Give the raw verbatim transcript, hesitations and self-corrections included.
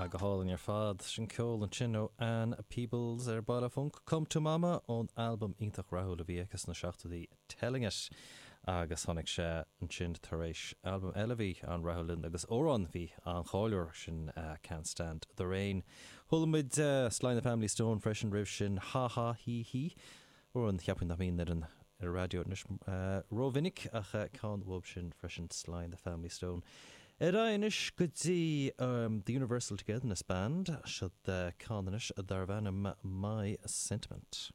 Go hálainn ar fad sin ceol ansin ó Ann Peebles ar Baile Func Come to Mama ón albam iontach rathúil a bhí aici sna seachtóidí Telling It agus tháinig sé ansin tar éis albam eile bhí an-rathúil agus amhrán bhí an-cháiliúil sin uh, Can't Stand the Rain. Chuala muid uh, Sly and the Family Stone freisin roimh sin Ha Ha Hí Hí amhrán cheapfainn nach mbíonn ar an ar raidió anois uh, rómhinic ach uh, ceann uaidh sin freisin Sly and the Family Stone. Ar anois go dtí um, the Universal Togetherness Band siad uh, ceann anois darb ainm My Sentiment.